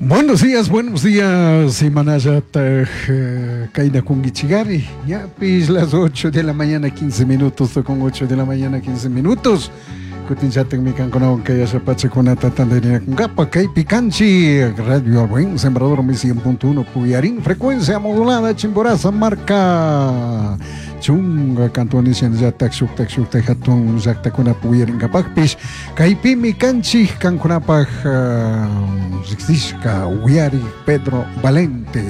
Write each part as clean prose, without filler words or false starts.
Buenos días, imanallataj kayna kunkichigari, ñapish las 8 de la mañana 15 minutos, con 8 de la mañana 15 minutos. Kutinllatakmi kankunawan kay ashapachakunata tantarinakunkapa kaypi kanchik Radio El Buen Sembrador 100.1 Puyarín, frecuencia modulada Chimborazo marca chunga cantones shinallatak shuktak shuktak hatun llaktakuna puyarinkapakpish kaypimi kanchik kankunapak riksishka uyari Pedro Valente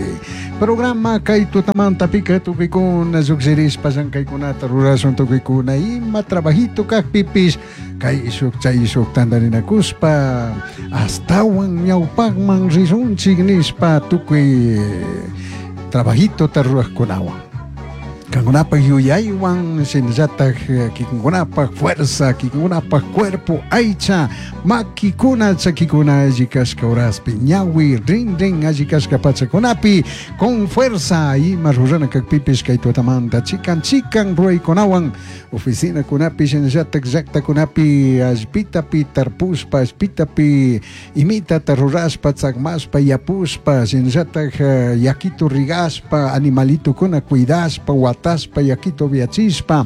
programa kay tutamantapika tukuykuna llukshirishpa llankaykunata rurashun tukuykuna ima trabajito kakpipish kay shuk chay shuk tantarinakushpa astawan ñawpakman rishunchik nishpa tukuy trabajitota rurajkunawan kankunapak yuyaywan shinallatak kikinkunapak fuerza kikinkunapak cuerpo aycha makikuna chakikuna alli kashka horaspi ñawi rin rin alli kashka pachakunapi con fuerza ima rurana kakpipish kay tutamanta chikan chikan ruraykunawan oficinakunapi shinallatak llaktakunapi allpitapi tarpushpa allpitapi imitata rurashpa tzakmashpa yapushpa shinallatak yakito rigashpa animalitukuna cuidashpa watashpa yakito viachishpa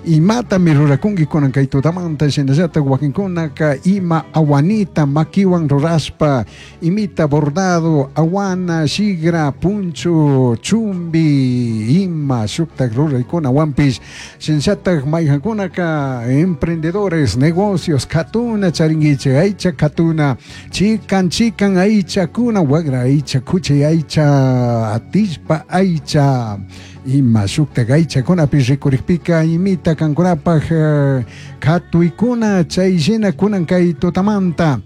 imatami rurakunki kunan kay tutamanta shinallatak wakinkunaka ima awanita makiwan rurashpa imita bordado awana shigra puncho chumbi ima shuktak ruraykunawanpish shinallatak mayjankunaka emprendedores negocios katuna charinkichik aycha katuna chikan chikan aychakuna wagra aycha kuchi aycha atishpa aycha ima shuktak aychakunapi rikurikpika imita kankunapak katuykuna chay shina kunan kay tutamanta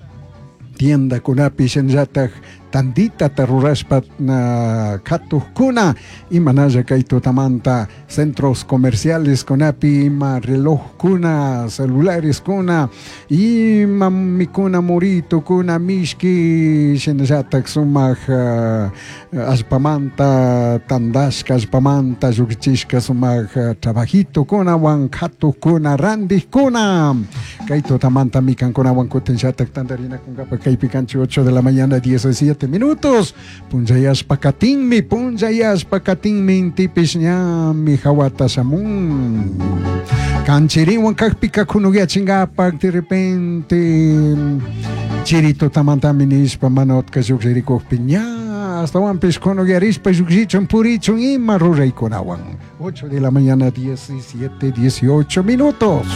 tiendakunapi shinallatak tanditata rurashpa katukkuna imanalla kay tutamanta centros comerciales kunapi ima relojkuna celulares kuna ima mikuna muritukuna mishki shinallatak sumak allpamanta tandashka allpamanta llukchishka sumak trabajitukunawan katukkuna randikkuna kay tutamanta mikankunawan kutinllatak tantarinakunkapa kaypi kanchik 8 de la mañana 17 minutos punchayashpa katinmi punchayashpa katinmi intipish ñami hawata shamun kanchiriwan kakpika kunuyachinkapak de repente chiri tutamantami nishpa mana utka llukshirikukpi ña astawanpish kunuyarishpa llukshichun purichun ima ruraykunawan 8 de la mañana 17 18 minutos.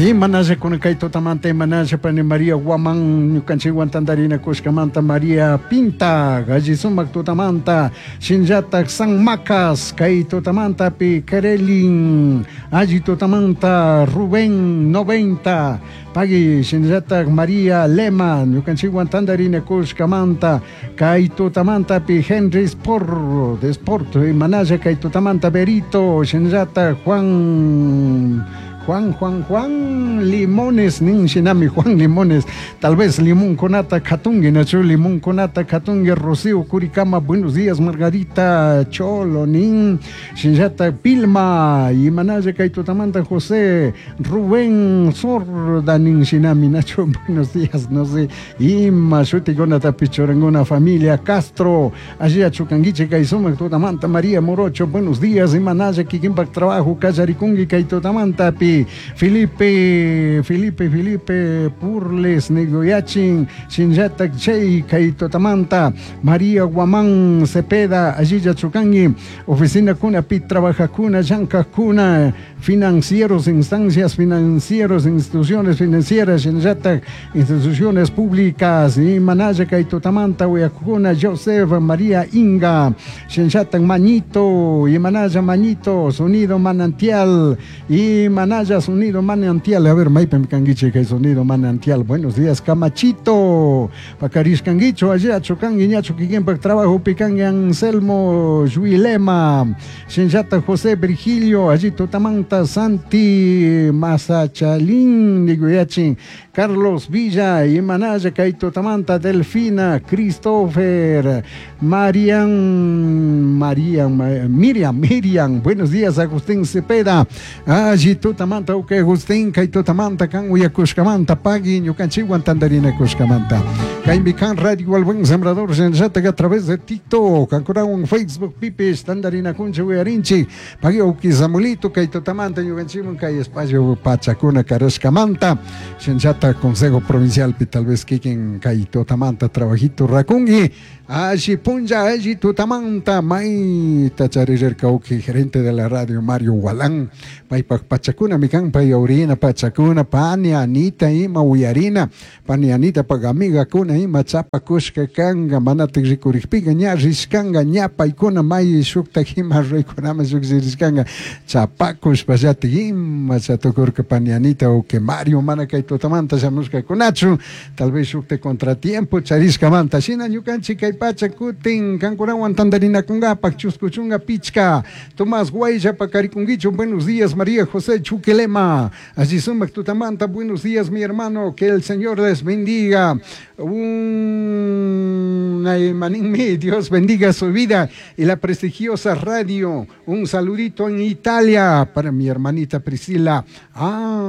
Imanalla kunan kay tutamanta imanalla pani María Guamán ñukanchikwan tantarinakushkamanta María Pinta alli sumak tutamanta shinallatak San Macas kay tutamantapi Kerelin alli tutamanta Rubén 90 pagui shinallatak María Lema ñukanchikwan tantarinakushkamanta kay tutamantapi Henry Sport de Sport imanalla kay tutamanta Berito shinallatak Juan Juan, Juan, Juan Limones, nin shinami Juan Limones, tal vez limón conata katungi, nachu limón conata katungi, Rocío Curicama, buenos días, Margarita Cholo, nin, shinllata Pilma, y Manaya Kaitutamanta José, Rubén Sorda, nin shinami, nachu, buenos días, no sé, y Mashuti conata pichorangona familia Castro, allí achucanguiche, Kaizuma, Tutamanta, María Morocho, buenos días, y Manaya Kikimpak trabajo, Kayarikungi, Kaitutamanta, pi Felipe, Felipe, Felipe Purles, Negoyachin, Shinyatak Chay, Kaitotamanta, María Guamán Cepeda, Allilla Chucangui, Oficina Cuna, Pi Trabaja Cuna, Yanka Cuna, financieros, instancias financieros, instituciones financieras, Shinyatak, instituciones públicas, y Manaya Kaitotamanta, Uyacuna, Joseph, María Inga, Shinyatak Mañito, y Manaya Mañito, Sonido Manantial, y Manaya Sonido Manantial, a ver, Maipem Canguiche, que Sonido Manantial, buenos días, Camachito, Pacarish Canguicho, allá Chocangui, Ñacho, Quiquempa, Trabajo, Picangui, Anselmo, Juilema, Shinjata José Virgilio, allí Tutamanta, Santi, Mazachalín, Niguyachin, Carlos Villa, Imanaya kay tutamanta, Delfina, Christopher, Marian, Marian, Miriam, Miriam, buenos días Agustín Cepeda, alli tutamanta, ok Agustín, kay tutamanta, kan uyakushkamanta, pagui, ñukanchikwan tandarinakushkamanta, kaymi kan Radio El Buen Sembrador, shinallataka a través de TikTok, kankunawan Facebook, pipis, tandarinakunchik uyarinchik, pagui uki Samuelito, kay tutamanta, ñukanchikwan kay espacio pachakuna karashkamanta, shinallata Consejo Provincial pi tal vez kikin kay tutamanta trabajito rakungi, alli punlla, alli tutamanta, mayta charirka uki gerente de la radio Mario Gualán, paypak pachakuna mikan pay aurina pachakuna, pani Anita ima uyarina, pani Anita pak amigakuna ima chapakushka kanga, manatik rikurikpika ña rishkanga, ña paykuna may shuktak ima ruykunaman llukshirishkanga, chapakushpallatik ima chatukurka pani Anita uki Mario mana kay tutamanta shamushkakunachu, tal vez shukta contratiempo charishkamanta, shina ñukanchik kay pacha kutin kankunawan tandarinakunkapak chusku chunka pichka, Tomás Guaylla pakarikunkichu, buenos días María José Chuquilema, allí sumak tutamanta, buenos días mi hermano, que el Señor les bendiga, Dios bendiga su vida y la prestigiosa radio, un saludito en Italia para mi hermanita Priscila,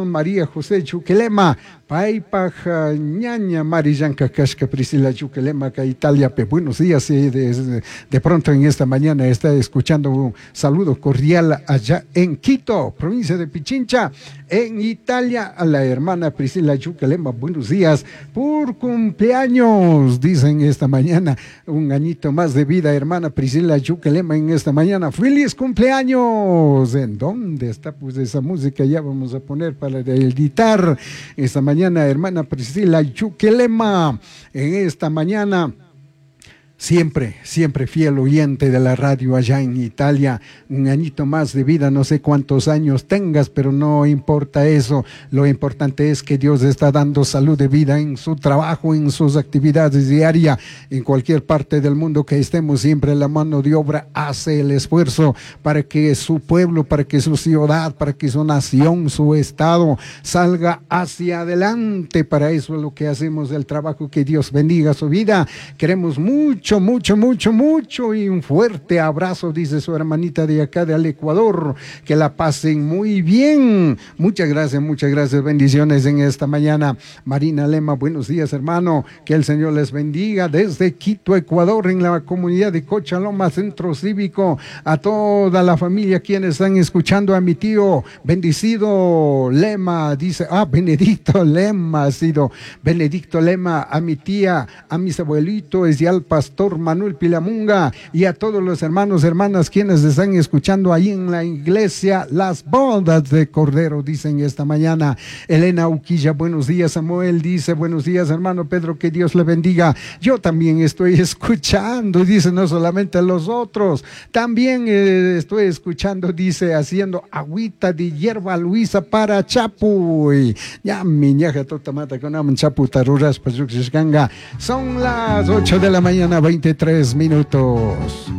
María José Chuquilema, paypaj ñaña Marillanka kashka Priscila Chuquilema ka Italia, buenos días, de pronto en esta mañana está escuchando un saludo cordial allá en Quito, provincia de Pichincha, en Italia, a la hermana Priscila Chuquilema, buenos días, por cumpleaños, dicen esta mañana, un añito más de vida, hermana Priscila Chuquilema, en esta mañana, feliz cumpleaños. ¿En dónde está pues esa música? Ya vamos a poner para editar esta mañana, hermana Priscila Chuquilema, en esta mañana. Siempre, siempre fiel oyente de la radio allá en Italia, un añito más de vida, no sé cuántos años tengas, pero no importa eso, lo importante es que Dios está dando salud de vida en su trabajo, en sus actividades diarias, en cualquier parte del mundo que estemos, siempre la mano de obra hace el esfuerzo para que su pueblo, para que su ciudad, para que su nación, su estado salga hacia adelante. Para eso es lo que hacemos, el trabajo, que Dios bendiga su vida. Queremos mucho, mucho, mucho, mucho y un fuerte abrazo, dice su hermanita de acá del Ecuador, que la pasen muy bien. Muchas gracias, bendiciones en esta mañana. Marina Lema, buenos días, hermano, que el Señor les bendiga desde Quito, Ecuador, en la comunidad de Cochaloma, Centro Cívico, a toda la familia quienes están escuchando, a mi tío bendecido Lema, dice, Benedicto Lema, ha sido Benedicto Lema, a mi tía, a mis abuelitos y al pastor Manuel Pilamunga y a todos los hermanos, hermanas quienes están escuchando ahí en la iglesia Las Bodas de Cordero, dicen esta mañana. Elena Uquilla, buenos días. Samuel dice, buenos días hermano Pedro, que Dios le bendiga. Yo también estoy escuchando, dice, no solamente los otros, también estoy escuchando, dice, haciendo agüita de hierba luisa para chapuy. Ya mi ñaja totamata con am chapu taruras payuxishkanga. Son las 8 de la mañana, 23 minutos.